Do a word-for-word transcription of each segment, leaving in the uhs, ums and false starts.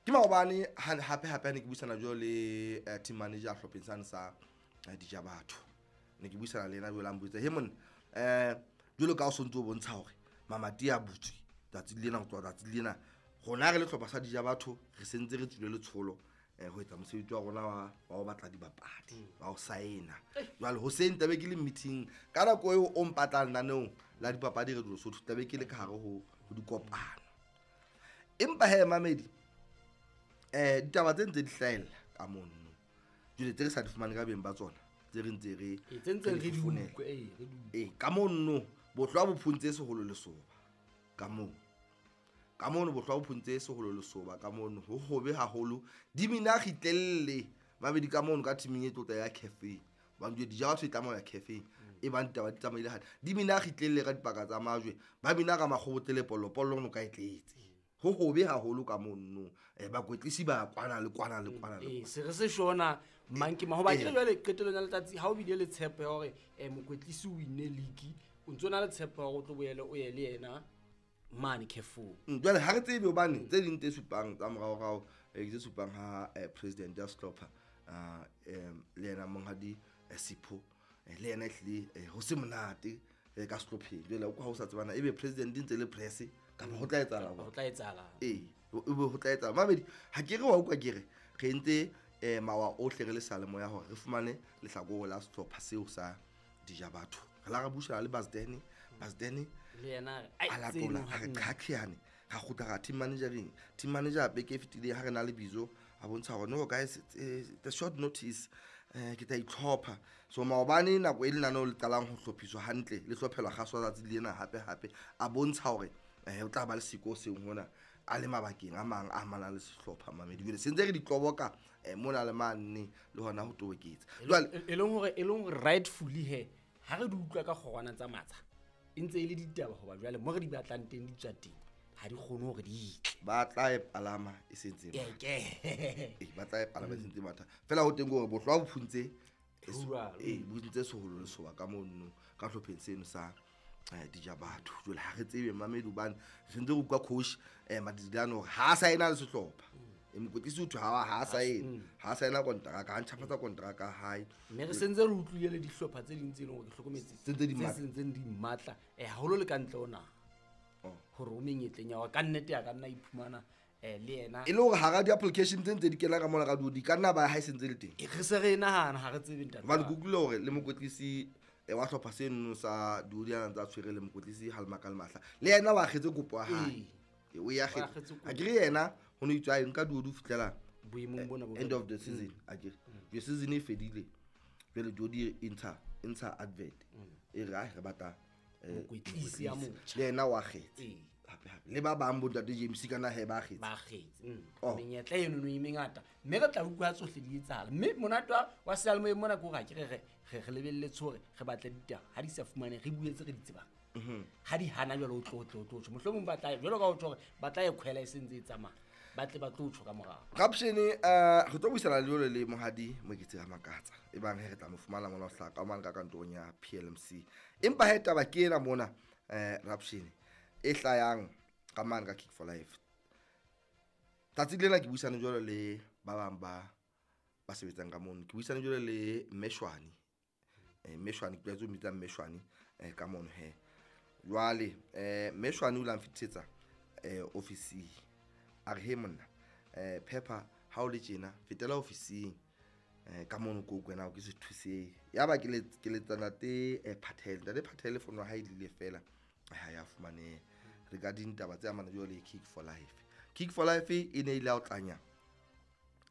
Ke maobane hape hape ha ne ke buisana jwalo le uh, team manager hlopheng sane sa uh, Dijabatho. Ne ke buisana le yena jwale a mpotsa, "He monna, eh jwalo ka o sontso o bontsha hore mamati a butswe tsatsi lena ho tloha tsatsi lena rona re le hlopha sa Dijabatho re sentse re tswile letsholo eh ho etsa mosebetsi wa rona wa wa ho batla dibapadi wa ho saena. Jwale hoseng tlabe ke le meeting ka nako eo o mpatlang lenaneong la dipapadi re Lesotho tlabe ke le ka hare ho ho dikopano. Empa he mamedi eh ditaba tse ntse di hlahella ka mono. Jwale tse re sa di fumane ka beng ba tsona tse re ntse re E tse ntse re di founela. utlwe, ee, re di utlwe. Eh ka mono bohlwa bo phuntse seholo lesoba ka mono. Ka mono bohlwa bo phuntse seholo lesoba ka mono ho hobe haholo di mina kgitlelle mabedi ka mono ka teaming e tlotla ya cafe. Ba njwe Dijabatho e tlameha ya cafe e bang ditaba di tsamaile hantle. Di mina kgitlelle ka dipaka tsa majwe ba mina ka makgobotlele pollo pollo no ka e tletse. Ho hobe haholo ka mono eh bakwetlisi ba kwana le kwana le kwana le Ee, kwana. se re se shona mang ke mang hoba Eh. ke jwale qetellong ya letsatsi ha o bile le tshepo ya hore eh mokwetlisi o winne league o ntso na le tshepo ya hore o tlo boele o ye le yena mane Carrefour. Mm, jwale ha re tsebe hobane tse ding tse supang tsa moraorao eh, tse supang ha eh, president ya sehlopha ah, em, le yena monghadi eh, Sipho eh, le yena ehlile eh, ho se monate eh, ka sehlopheng. Jwale o kwa ha o sa tsebana ebe president e ntse le press kapa ho tla etsahala Ho jwang? tla etsahala. Ee, ebe ho tla etsahala. Mamedi ha ke re wa utlwa ke re re entse eh, mawa ohle re le seyalemoya hore re fumane lehlakore la sehlopha seo sa Dijabatho. Re la re buisana le Basdene, Basdene Le yena a re, a "Ai, latola tseno a ha re nna." qhaqheane ra kgutla ra team managereng. Team manager beke e fetileng ha re na le bizo a bontsha hore no guys eh, the short notice eh ke tla itlhopha. So maobane nako e lenaneo le qalang ho hlophiswa hantle le hlophelwa kgaso tsatsi lena hape hape a bontsha hore eh o tla ba le siko seng hona a le mabakeng a mang a amanang le sehlopha mamedi. Jwale se ntse re di tloboka eh mona le mane le hona ho toboketsa. Jwale E leng hore e leng hore rightfully he ha re di utlwa ka kgorwana tsa matsha e ntse e le ditaba hoba jwale mo re di batlang teng di tswa teng ha di kgone hore di tle. Ba tla e palama e sentse e matha. Ke Ee, ba tla e palama e sentse e matha. Feela ho teng ke hore bohlwa bo phuntse e so- Jwalo. ee, bo phuntse seholo lesoba ka mono ka hlopheng seno sa eh, Dijabatho. Jwale ha re tsebe mamedi hobane re sentse re utlwa coach eh Madidilane hore ha a saena le sehlopha. E mokwetlisi o thwe ha ha a saena, ha a saena kontraka, ha ntjhafatsa kontraka ya hae. Mme re sentse re utlwile le dihlopha tse ding tse leng hore ke hlokometse Tse ntse di tse matla. sentseng di matla eh haholo le ka ntle ho naha. Oh. Hore o menyetleng ya hore ka nnete a ka nna iphumana eh le yena. E le hore hara di-application tse ntse di kena ka mona ka di ka nna ba ha e sentse le teng. E re se re nahana ha re tsebe ntate. Hobane ke utlwile hore le mokwetlisi eh, wa hlopha seno sa Diodiana ntse a tshwere le mokwetlisi Halmaka le Mahla. Le yena wa akgetse kopo ya hae. Ee. Ee, o e akgetse. O akgetse kopo. A ke re yena ho no itswe a e nka Diodi ho fihlela Boemong bona bo end of the season. A ke re. Jwale season e fedile. Jwale Diodi e ntsha, e ntsha advert. E re, ai, re batla, eh, Mokwetlisi ya mokwetlisi. motjha. Le yena wa akgetse. Ee. Hape hape. Le ba bang bo ntate James kana he ba akgetse. Ba akgetse. Mm. Oh. Menyetla eno no e mengata. Mme re tla utlwa tsohle di etsahala. Mme monate wa, wa seyalemoyeng mona ke hore ha ke re re, re, re lebelletse hore re batle ditaba. Ha di sa fumane, re bue tse re di tsebang. Mm-hmm. Ha di hana jwale o tlo, tlo, tlo tjho. Mohlomong ba tla, jwalo ka o tjho hore ba tla e khwela e sentse e tsamaya. Ba tle ba tlo tjho ka morao. Rapshene, eh, re tlo buisana le jwale le Monghadi Moketsi Ramakatsa. Ebang he re tla mo fumana mona ho hlaka ka mane ka kantorong ya P L M C. Empa he taba ke ena mona, eh, Rapshene, e hlayang ka mane ka Kick for Life. Tsatsi lena ke buisane jwalo le ba bang ba, ba sebetsang ka mono. Ke buisane jwalo le Mmeshwane. Eh, Mmeshwane, ke tlwaetse ho mmitsa Mmeshwane, eh, ka mono he. Jwale, eh, Mmeshwane o ile a nfitisetsa, eh, ofising. A re, he monna, eh, Pepper, ha o le tjena, fetela ofising, eh, ka mono ko kwena ke se thuseng. Yaba ke le, ke letsa ntate, eh, Phathele. Ntate Phathele fono ya hae e lile fela, ha ya fumaneha. Regarding taba tse amanang jwalo le Kick for Life. Kick for Life e ne ile ya o tlanya,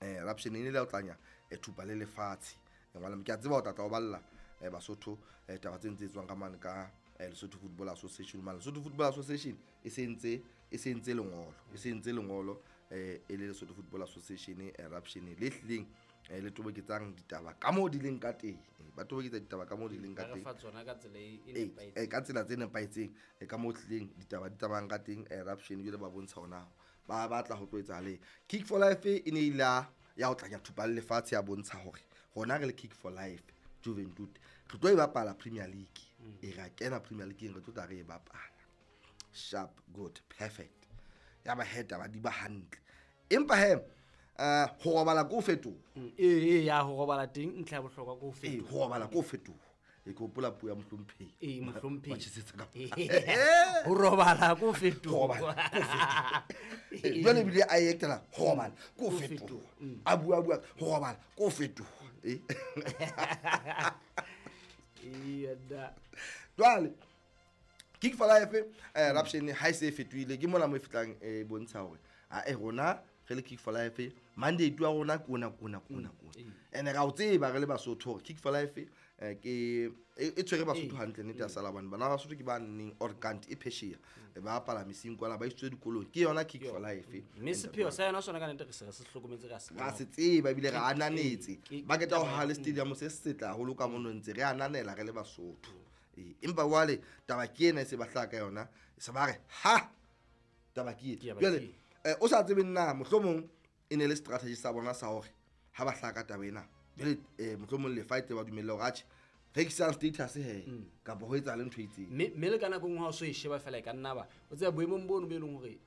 eh, Rapshene e ne ile ya o tlanya, eh, thupa le lefatshe. Eh, ngwana, ke a tseba o tla tla o balla, eh, Basotho, eh, taba tse ntse tswang ka mane ka, eh, Lesotho Football Association. Mane Lesotho Football Association e sentse, e sentse lengolo, e sentse lengolo, eh, e le Lesotho Football Association, eh, Rapshene le hlileng, eh, le toboketsang ditaba ka moo di leng ka teng. Eh, ba toboketsa ditaba ka moo di leng ka Ba re teng. fa tsona ka tsela e, e Eh, nepahetseng. eh, ka tsela tse nepahetseng, eh, ka moo hlileng ditaba di tsamayang ka teng, eh, Rapshene jwale ba bontsha hona ba batla ho tlo etsahala eng. Kick for Life e ne ile ya, ya ho tlanya thupa le lefatshe ya bontsha hore rona re le Kick for Life Juventud re tlo e bapala Premier League. Mm. E ra kena Premier League re tlo tla re e bapala. Sharp, good, perfect. Ya ba he taba di ba hantle. Empa he eh ho robala ko fetoha. Mm, ee ee ya ho robala teng ntlha ya bohlokwa ko Ee, fetoha. ho robala ko fetoha. E ke hopola puo ya mohlomphehi. Ee, mohlomphehi. Wa tjhesetsa ka- Ho robala ko Ho fetoha. robala ko fetoha. Eh, Jwale ebile a e etela ho robala ko fetoha. A bua bua ho robala ko fetoha. Eh. Ee, da. Jwale Kick for Life eh Raption ha e se e fetohile ke mona mo e fitlang e bontsha hore a e rona re le Kick for Life mandate wa rona ke ona ke ona ke ona ke ona. Ene ra o tseba re le Basotho hore Kick for Life eh, ke e e tshwere Basotho hantle nnete ya sala bane bana ba Basotho ke ba neng or kanti e phesheya ba bapala mesing kwana ba isitswe dikolong ke yona Kick for Life. Mme sepheo sa yona sona ka nnete re se re se hlokometse ra se Ra se tseba ebile re ananetse ke- ba keta ho ha le stadium se setle haholo ka mono ntse re ananela re le Basotho. Ee, empa jwale taba ke ena e se ba hlaha ka yona se ba re ha taba ke ena. Taba Jwale ke eh, o sa tsebe nna mohlomong e ne le strategy sa bona sa hore ha ba hlaha ka taba ena jwale eh, mohlomong lefa e tle ba dumelle hore atjhe rekisang status he kapa ho etsahale ntho e itseng. Mme mme le ka nako e nngwe ha o so e sheba fela e ka nna ba o tseba boemong bono bo e leng hore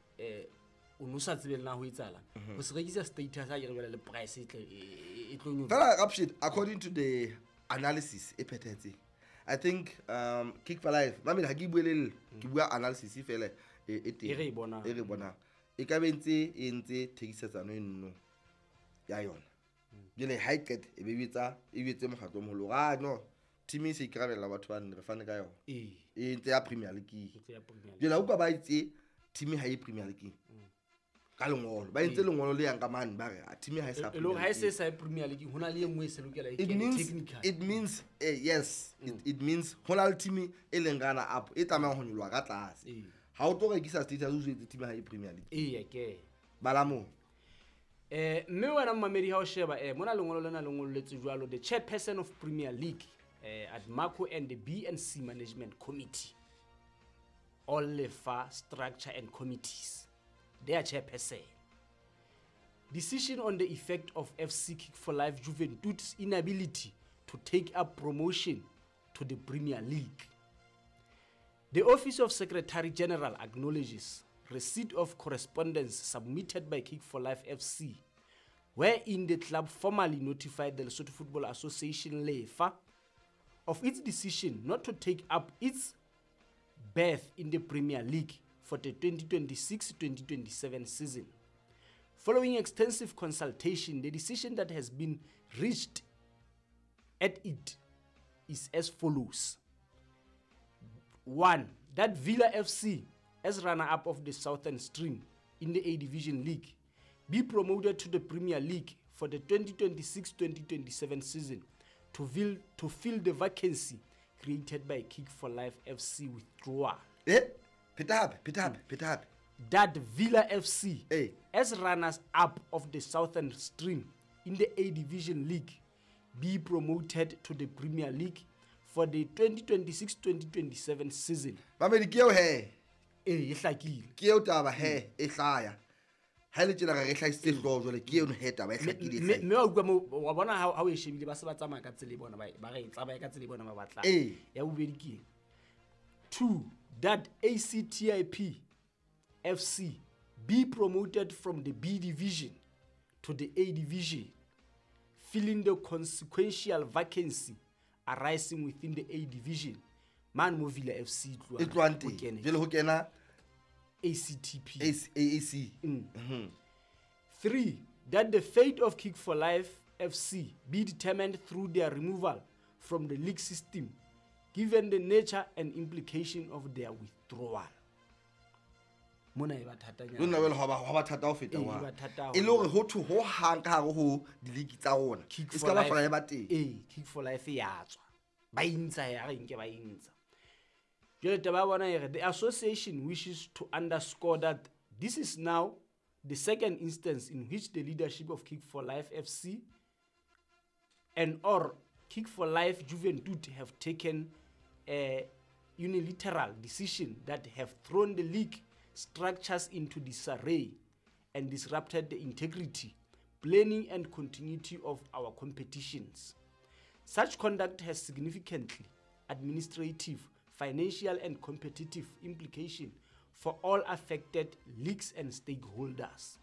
um o no sa tsebe le na ho etsahalang. Ho se rekisa status ha ke re jwale le price e tle e e- e tlo nyoloha. Fela Rapshit, according to the analysis e phethahetseng I think um Kick for Life mamela ha ke bue le ke bua analysis fela e e teng E re e bonang. e re bonang e ka be ntse e ntse thekisetsano e nno ya yona jwale ha e qeta e be e etsa e etse mokgatlo o moholo hore, ah no team e se ikarabella batho ba nne re fane ka yona Ee, e ntse ya Premier League ntse ya Premier League. jwale ha utlwa ba itse team ha e Premier League ka lengolo ba entse lengolo le yang ka mane ba re ah, team ha e sa E le hore Premier ha e se League. e sa ye Premier League ho na le e nngwe e se lokela e It kene means technical. it means eh, yes it, it means ho na le team e leng runner up e tlamehang ho nyoloha ka tlase Ee. ha o tlo rekisa status o jwetse team ha e Premier League Eya ke. bala moo Eh mme wena momamedi ha o sheba eh mona lengolo lena le ngolletswe jwalo the chairperson of Premier League eh at Marco and the B and C Management Committee all lefa structure and committees their chairperson decision on the effect of F C Kick for Life Juventud's inability to take up promotion to the Premier League. The Office of Secretary General acknowledges receipt of correspondence submitted by Kick for Life F C, wherein the club formally notified the Lesotho Football Association LEFA of its decision not to take up its berth in the Premier League for the twenty twenty-six twenty twenty-seven season. Following extensive consultation, the decision that has been reached at it is as follows. One, that Villa F C, as runner-up of the Southern Stream in the A Division League, be promoted to the Premier League for the twenty twenty-six twenty twenty-seven season to fill, to fill the vacancy created by Kick for Life F C withdrawal. Eh pheta hape pheta hape pheta hape That Villa F C, Eh. as runners-up of the Southern Stream in the A Division League, be promoted to the Premier League for the twenty twenty-six twenty twenty-seven season. Mamedi ke eo he Ee, e hlakile. ke eo taba he e hlaya ha le tjena re re hlahisitse hlooho jwale ke eno he taba e hlakile e Mme hlahile. mme wa utlwa moo, wa bona ha ha o e shebile ba se ba tsamaya ka tsela e bona ba ba re tsamaya ka tsela e bona ba batlang. Ee. Ya bobedi ke eng? Two, that A C T I P F C be promoted from the B division to the A division, filling the consequential vacancy arising within the A division. Mane mo Villa F C e e tlohang tlohang ho teng kene jwale ho kena A C T P. A C A C Three, that the fate of Kick for Life F C be determined through their removal from the league system, given the nature and implication of their withdrawal. Mona e ba thatanyana. le nna jwale hwa ba hwa ba thata ho feta Ee, wa e ba thata e le hore ho thwe ho hang ka hare ho di-league tsa rona Kick e se for ka ba Life- hlola e ba teng Ee, Kick for Life ya tswa. Ba intsha ya re nke ba intsha. Jwale taba ya bona e re, the association wishes to underscore that this is now the second instance in which the leadership of Kick for Life F C and or Kick for Life Juventud have taken a unilateral decision that have thrown the league structures into disarray and disrupted the integrity, planning and continuity of our competitions. Such conduct has significantly administrative, financial and competitive implication for all affected leagues and stakeholders.